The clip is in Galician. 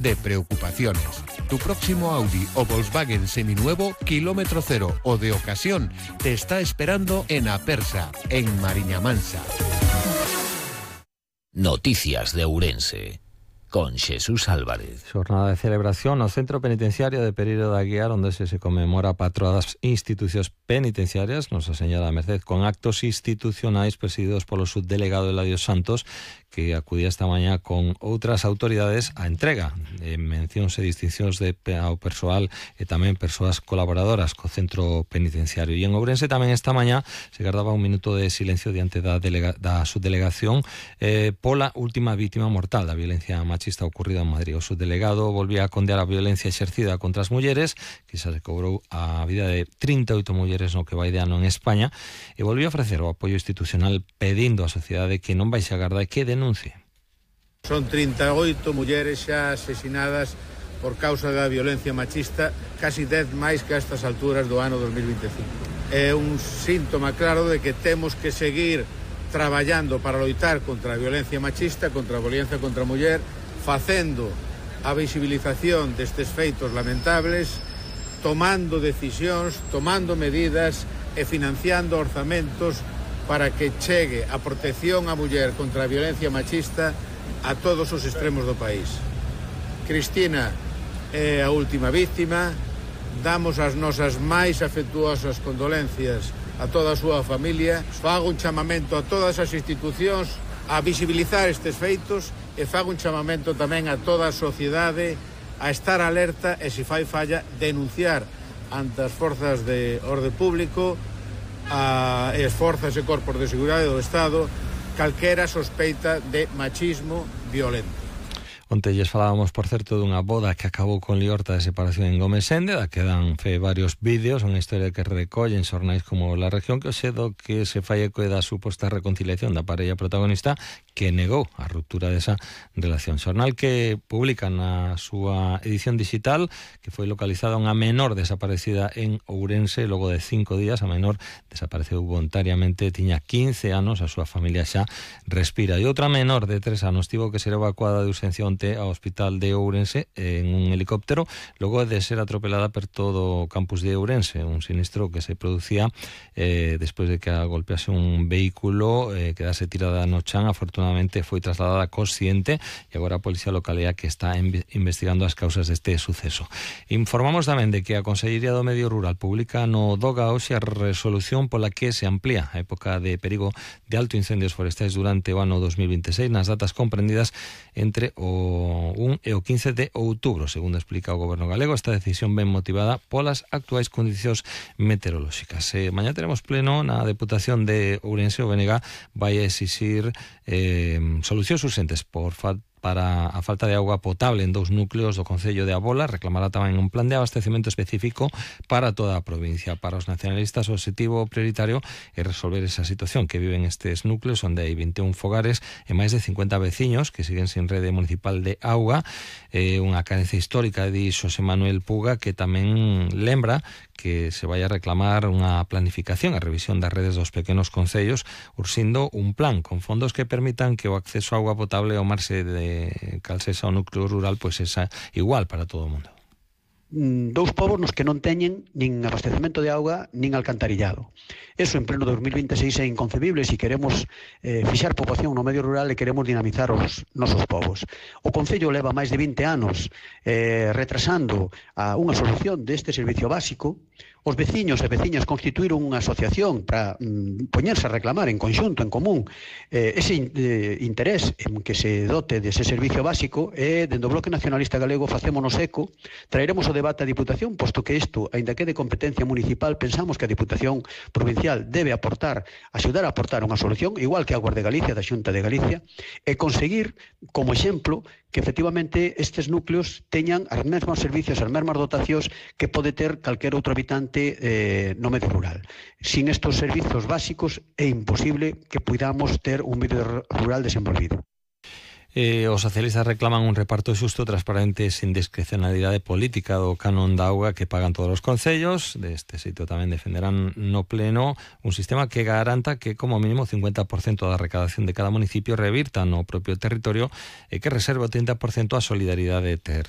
de preocupaciones. Tu próximo Audi o Volkswagen seminuevo, kilómetro cero o de ocasión, te está esperando en Apersa, en Mariña Mansa. Noticias de Ourense, con Jesús Álvarez. Xornada de celebración no Centro Penitenciario de Pereiro da Guiar, onde se conmemora a patroa das institucións penitenciarias, Nosa Señora da Merced, con actos institucionais presididos polo subdelegado Eladio Santos, que acudía esta mañá con outras autoridades á entrega de mencións e distincións ao persoal e tamén persoas colaboradoras co centro penitenciario. E en Ourense tamén esta mañá se guardaba un minuto de silencio diante da subdelegación pola última vítima mortal da violencia machista ocorrida en Madrid. O subdelegado volvía a condear a violencia exercida contra as mulleres, que xa se cobrou a vida de 38 mulleres no que vai de ano en España, e volvía a ofrecer o apoio institucional pedindo á sociedade que non baixe a garda e que denuncie. Son 38 mulleres xa asesinadas por causa da violencia machista, casi 10 máis que a estas alturas do ano 2025. É un síntoma claro de que temos que seguir traballando para loitar contra a violencia machista, contra a violencia contra a muller, facendo a visibilización destes feitos lamentables, tomando decisións, tomando medidas e financiando orzamentos para que chegue a protección á muller contra a violencia machista a todos os extremos do país. Cristina é a última víctima, damos as nosas máis afectuosas condolencias a toda a súa familia, fago un chamamento a todas as institucións a visibilizar estes feitos e fago un chamamento tamén a toda a sociedade a estar alerta e, se fai falla, denunciar ante as forzas de orde público e as forzas e corpos de seguridade do Estado calquera sospeita de machismo violento. Onte lles falábamos, por certo, dunha boda que acabou con liorta de separación en Gomesende, da que dan fe varios vídeos, unha historia que recollen xornais como La Región, que o xedo que se fai eco da suposta reconciliación da parella protagonista que negou a ruptura desa relación. Xornal que publica na súa edición digital que foi localizada unha menor desaparecida en Ourense logo de 5 días. A menor desapareceu voluntariamente, tiña 15 anos, a súa familia xa respira. E outra menor de 3 anos tivo que ser evacuada de urxencia ao hospital de Ourense en un helicóptero logo de ser atropelada por todo o campus de Ourense, un sinistro que se producía despois de que a golpease un vehículo, quedase tirada no chan. Afortunadamente foi trasladada consciente e agora a Policía Local que está investigando as causas deste suceso. Informamos tamén de que a Consellería do Medio Rural publica no DOGA hoxe a resolución pola que se amplía a época de perigo de alto incendios forestais durante o ano 2026 nas datas comprendidas entre o 1 e o 15 de outubro. Segundo explica o Goberno galego, esta decisión ben motivada polas actuais condicións meteorolóxicas. Mañá teremos pleno na Deputación de Ourense. O BNG vai exixir solucións urxentes para a falta de auga potable en 2 núcleos do Concello de Abola. Reclamará tamén un plan de abastecemento específico para toda a provincia. Para os nacionalistas, o objetivo prioritario é resolver esa situación que viven estes núcleos, onde hai 21 fogares e máis de 50 veciños que siguen sin rede municipal de auga. Unha carencia histórica, di Xosé Manuel Puga, que tamén lembra que se vai a reclamar unha planificación, a revisión das redes dos pequenos concellos, urxindo un plan con fondos que permitan que o acceso a auga potable ao marxe de calcesa ao núcleo rural pois é igual para todo o mundo. Dous povos nos que non teñen nin abastecemento de auga nin alcantarillado. Eso en pleno 2026 é inconcebible se queremos fixar poboación no medio rural e queremos dinamizar os nosos povos. O Concello leva máis de 20 anos retrasando unha solución deste servicio básico. Os veciños e veciñas constituíron unha asociación para poñerse a reclamar en conxunto, en común, ese interés en que se dote dese servicio básico, e dende o Bloque Nacionalista Galego facémonos eco, traeremos o debate á Diputación, posto que isto, aínda que de competencia municipal, pensamos que a Diputación Provincial debe axudar a aportar unha solución, igual que a Guardia de Galicia, da Xunta de Galicia, e conseguir, como exemplo, que efectivamente estes núcleos teñan os mesmos servicios, as mesmas dotacións que pode ter calquer outro habitante no medio rural. Sin estes servizos básicos é imposible que podamos ter un medio rural desenvolvido. Os socialistas reclaman un reparto xusto, transparente e sin discrecionalidade política do canon da auga que pagan todos os concellos. Deste xeito tamén defenderán no pleno un sistema que garanta que como mínimo 50% da recadación de cada municipio revirta no propio territorio e que reserve o 30% a solidaridade territorial.